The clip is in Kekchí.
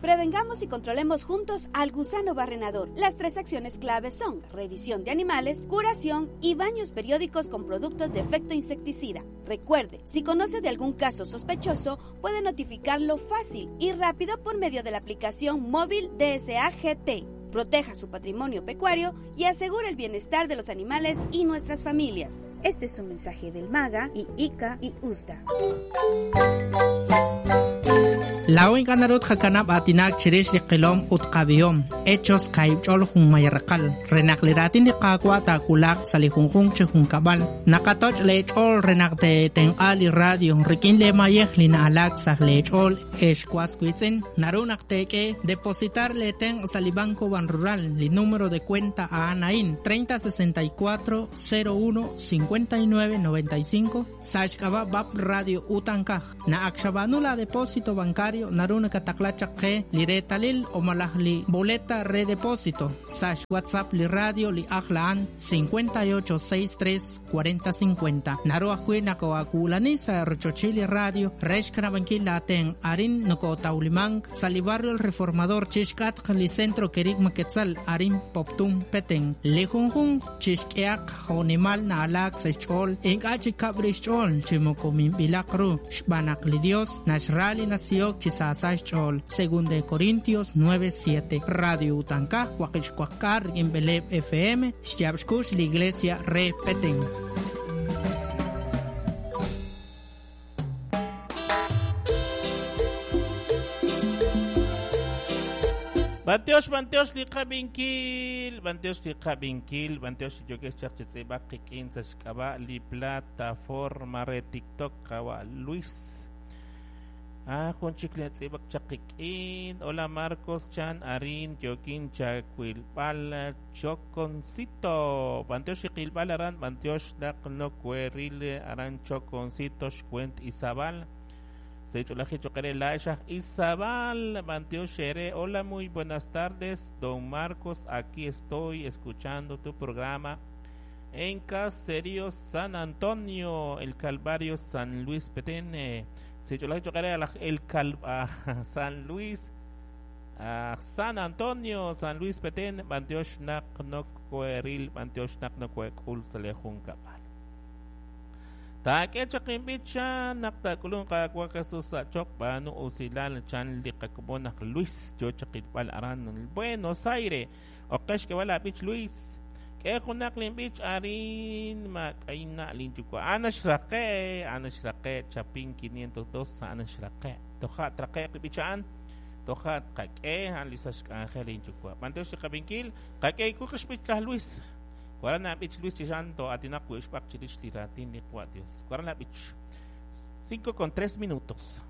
Prevengamos y controlemos juntos al gusano barrenador. Las tres acciones claves son revisión de animales, curación y baños periódicos con productos de efecto insecticida. Recuerde, si conoce de algún caso sospechoso, puede notificarlo fácil y rápido por medio de la aplicación móvil DSAGT. Proteja su patrimonio pecuario y asegure el bienestar de los animales y nuestras familias. Este es un mensaje del MAGA y ICA y USDA. Laa'o ink'a' naru tqakanab' aatinak chirix li qilom ut qab'ihom, Hechos kaahib' ch'ol junmay raqal, re naq li raatin li Qaawa' taawulaq sa' li junjunq chi junkab'al. Naqatoch' lee ch'ool re naq teetenq'a li radio rik'in lee mayej li na'alaak sa' lee ch'ool. Ex was wiitz'in, naru naq teek'e depositar lee tenq' sa' li Banco Banrural, li número de cuenta a'an a'in, 30 64 01 59 95, sa' xk'ab'a' BAP Radio Utankaj. Naq ak xab'aanu la depósito bancario, naru nakataqla chaq qe li reetalil o malaj li boleta re depósito sa' xWhatsApp li radio li ajl a'an 58 63 40 50. Naru ajwi' nakoo'aawulani sa' rochochil li radio re xkanab'ankil laatenq'. Arin nokootawlimank sa' li barrio El Reformador chixk'atq li Centro Kerigma Quetzal arin Poptún, Petén. Li junjunq chixk'ehaq jo'nimal na'alaak sa' xch'ool, ink'a' chi kab' rix xch'ool chi moko minb'ilaq ru, xb'aan naq li Dios naxra li nasihok chi saasa xch'ool. Segunda de Corintios 9:7. Radio Utankaj, waqib' xwaqk'aal rik'in b'eleeb' FM, xyaab' xkux li Iglesia re Petén. B'antiox, b'antiox li qab'inkil, b'antiox li qab'inkil, b'antiox li yookex chaq chi tz'iib'ak qik'in sa' xk'ab'a' li plataforma re TikTok qawa' Luis. Ah, jun chik li tz'iib'ak chaq qik'in. Hola Marcos Chan arin yookin chawilb'al Choconcito. B'antiox li qilb'al aran, b'antiox naq nokweril aran Choconcito xkwent Izabal. Izabal, Hola, muy buenas tardes, don Marcos. Aquí estoy escuchando tu programa en Caserío San Antonio, el Calvario San Luis Petén. El Cal San Luis San Antonio, San Luis Petén, b'antiox naq nokweril, b'antiox naq nokwek'ul sa' li junkab'al. Taak'e chaq inb'ich chan naq taak'ulunq Qaawa' Jesus sa' choq b'aanu usilal chan li qakomon aj Luis yo chaq ilb'al aran Buenos Aires. Oqe xk'eb'al aab'ich Luis. K'e junaq linb'ich arin maak'ayna' linyuwa'. A'an xraqe', a'an xraqe' Chapin 502 a'an xraqe'. Toja' traqe'q li b'ich a'an. Toja' tqak'e a'an li sa' xk'anjel linyuwa'. B'antiox li qab'inkil, qak'e kuq xb'ich laj Luis. Waran nab'ich Luis Chixan to'atinaq wi' xb'aq chirix li raatin li Qwa' Dios. Waran nab'ich. 5 con 3 minutos.